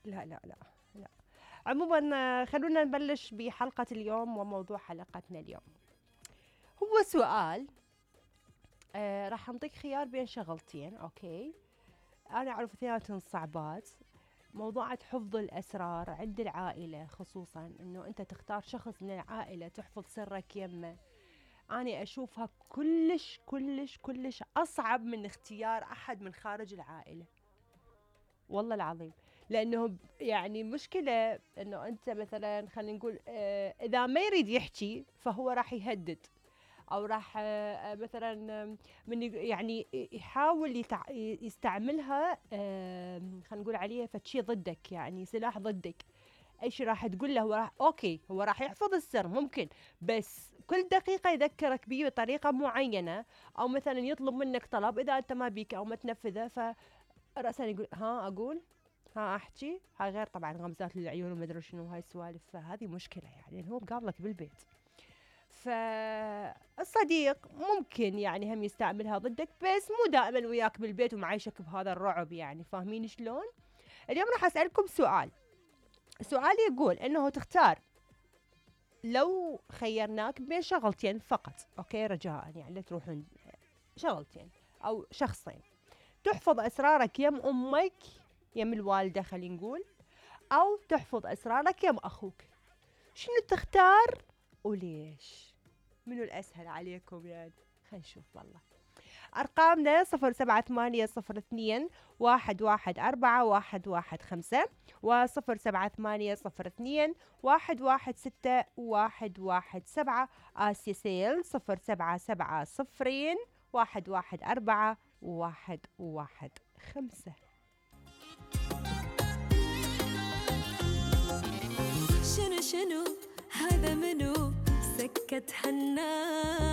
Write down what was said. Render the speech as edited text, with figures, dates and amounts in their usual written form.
لا لا لا لا. عموما خلونا نبلش بحلقة اليوم وموضوع حلقتنا اليوم. هو سؤال راح نعطيك خيار بين شغلتين. أوكي، أنا أعرف اثنيناتهم صعبات. موضوع حفظ الأسرار عند العائلة، خصوصا أنه أنت تختار شخص من العائلة تحفظ سرك يمه، أنا أشوفها كلش كلش كلش أصعب من اختيار أحد من خارج العائلة، والله العظيم. لأنه يعني مشكلة أنه أنت مثلا خلينا نقول إذا ما يريد يحكي فهو راح يهدد، أو راح مثلا من يعني يحاول يستعملها خلينا نقول عليها فتشي ضدك، يعني سلاح ضدك. ايش راح تقول له؟ هو راح اوكي، هو راح يحفظ السر ممكن، بس كل دقيقة يذكرك بيه بطريقة معينة، او مثلا يطلب منك طلب اذا انت ما بيك او ما تنفذه، فرأسا يقول ها اقول، ها احكي، هاي غير طبعا غمزات للعيون وما ادري شنو هاي السوالف. فهذه مشكلة يعني، هو مقابلك بالبيت. فالصديق ممكن يعني هم يستعملها ضدك، بس مو دائما وياك بالبيت ومعيشك بهذا الرعب، يعني فاهمين شلون؟ اليوم راح اسألكم سؤال يقول انه تختار، لو خيرناك بين شغلتين فقط، اوكي رجاء يعني لا تروحون، شغلتين او شخصين، تحفظ اسرارك يم امك يم الوالدة خلينا نقول، او تحفظ اسرارك يم اخوك، شنو تختار وليش؟ منو الاسهل عليكم يعني؟ خلينا نشوف. والله أرقامنا 0780211415 و0780211617. آسيا سيل 0770114115. شنو هذا منو سكت حنان